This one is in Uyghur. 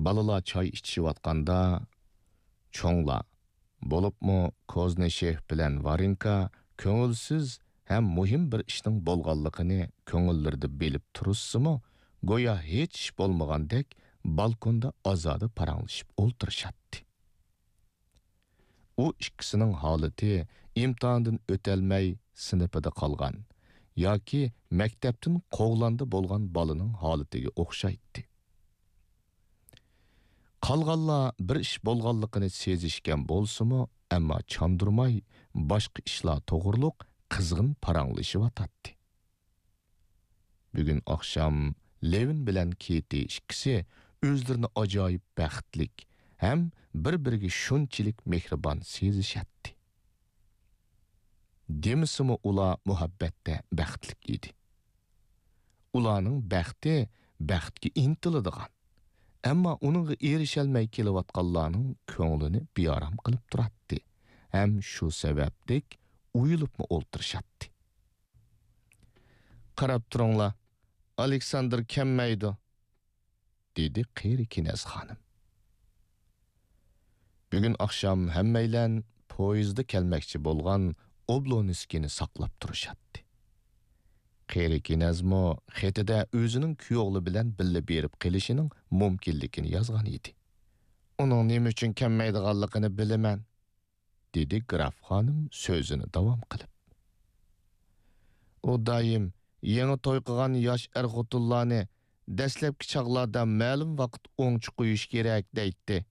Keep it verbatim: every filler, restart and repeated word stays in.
بالىلار چاي ئىچىشىۋاتقاندا، چوڭلار، بولۇپمۇ كوزنىشېف بىلەن ۋارېنكا كۆڭۈلسىز ھەم مۇھىم بىر ئىشنىڭ بولغانلىقىنى كۆڭۈللىرىدە بىلىپ تۇرۇشسىمۇ، گويا ھېچ ئىش بولمىغاندەك بالكوندا ئازادە پاراڭلىشىپ ئولتۇرۇشاتتى. ئۇ ئىككىسىنىڭ ھالىتى ئىمتىھاندىن ئۆتەلمەي سىنىپىدا قالغان ياكى مەكتەپتىن قوغلاندى بولغان بالىنىڭ ھالىتىگە ئوخشايتتى. قالغانلار بىر ئىش بولغانلىقىنى سېزىشكەن بولسىمۇ، ئەمما چاندۇرماي باشقا ئىشلار توغرۇلۇق قىزغىن پاراڭلىشىۋاتاتتى. بۈگۈن ئاخشام لېۋىن بىلەن كېتى ئىككىسى ئۆزلىرىنى ئاجايىپ بەختلىك ھەم بىر-بىرىگە شۇنچىلىك مېھرىبان سېزىشەتتى. دېمىسىمۇ ئۇلار مۇھەببەتتە بەختلىك ئىدى. ئۇلارنىڭ بەختى بەختكە ئىنتىلىدىغان، ئەمما ئۇنىڭغا ئېرىشەلمەي كېلىۋاتقانلارنىڭ كۆڭلىنى بىئارام قىلىپ تۇراتتى ھەم شۇ سەۋەبلىك ئويۇلۇپمۇ ئولتۇرۇشاتتى. «قاراپ تۇرۇڭلار، ئالېكساندىر كەلمەيدۇ»، دېدى قېرى كىنەز خانىم. بۈگۈن ئاخشام ھەممەيلەن پويىزدا كەلمەكچى بولغان ئوبلونسكىينى ساقلاپ تۇرۇشاتتى. قېرى كىنەزمۇ خېتىدە ئۆزىنىڭ كۈيئوغلى بىلەن بىللە بېرىپ قېلىشىنىڭ مۇمكىنلىكىنى يازغان ئىدى. «ئۇنىڭ نېمە ئۈچۈن كەلمەيدىغانلىقىنى بىلىمەن»، دېدى گراف خانىم سۆزىنى داۋام قىلىپ. «ئۇ دائىم يېڭى توي قىلغان ياش ئەر-خوتۇنلارنى دەسلەپكى چاغلاردا مەلۇم ۋاقىت ئوڭچە قويۇش كېرەك دەيتتى.